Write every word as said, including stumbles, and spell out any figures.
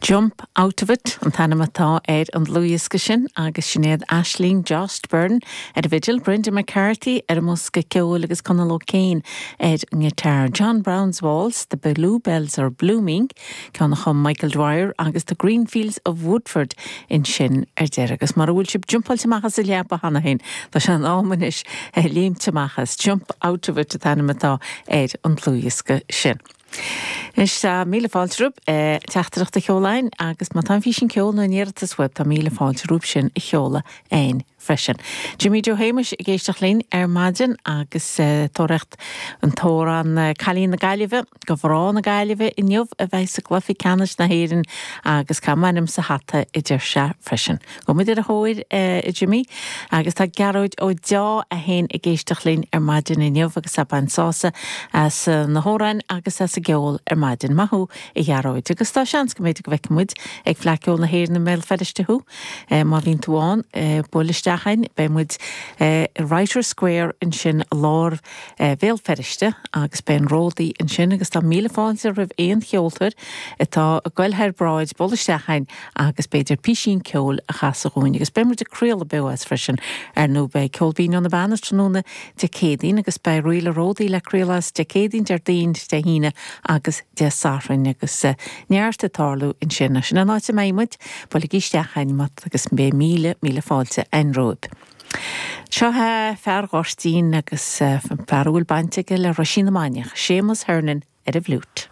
Jump Out of It an t-ainm atá ar an dlúthdhiosca sin agus Sinéad Aisling Jost Byrne ar an bhfidil Brendan McCarthy ar an mbosca ceoil agus Conal O'Kane ar an ngiotár. John Brown's Waltz, The Bluebells are Blooming, ceann a chum Michael Dwyer agus The Greenfields of Woodford ansin ar deireadh agus mar bhfuil sibh jumpáilte amach as an leaba cheana féin Tá sé in am anois léimt amach as Jump Out of It an t-ainm atá ar an dlúthdhiosca sin. Is tá míle fáilte romhaibh teachtaireacht a sheoladh agus má tá físeán ceoil nó iarratas uaibh tá míle fáilte romhaibh sin a sheoladh chugainn freisin. Jimmy Joe Shéamuis ag éisteacht linn ar maidin agus tóirecht an t-amhrán Cailín na Gaillimhe go mná na Gaillimhe inniu a bheidh sa gcluiche ceannais na hÉireann agus tá m'ainm sa hata a deir sé freisin. Go muid ar a thóir a Jimmy agus tá Gearóid Ó Deá a haon ag éisteacht linn ar maidin inniu agus ag baint sásamh as na hamhráin agus as an gceol ar maidin maith thú a Ghearóid, agus tá seans go mb'fhéidir go bhfeicfidh muid ag Fleadh Cheoil na hÉireann i mBéal Feirste thú má bhíonn tú ann buail isteach chugainn beidh muid Writer Square ansin lár Bhéal Feirste agus beidh an ródaí ansin agus tá míle fáilte roimh aon cheoltóir atá ag goil thar bráid buail isteach chugainn agus b'fhéidir píosaín ceoil a chasadh dúinn agus beidh muid ag craoladh beo as freisin ar ndóigh beidh Ceol Binn ó na Beanna tráthnóna Dé Céadaoin agus beidh Ríle Ródaí le craoladh as Dé Céadaoin Déardaoin Dé hAoine agus Dé Sathairn agus neart ag tarlú ansin sin an áit a mbeidh muid buailigí isteach chugainn agus beidh míle míle fáilte againn romhaibh. Seo fear Ghoirtín agus fear a bhfuil baint aige le Roisín na Mainiach, Séamus Hernon ar an bhfliúit.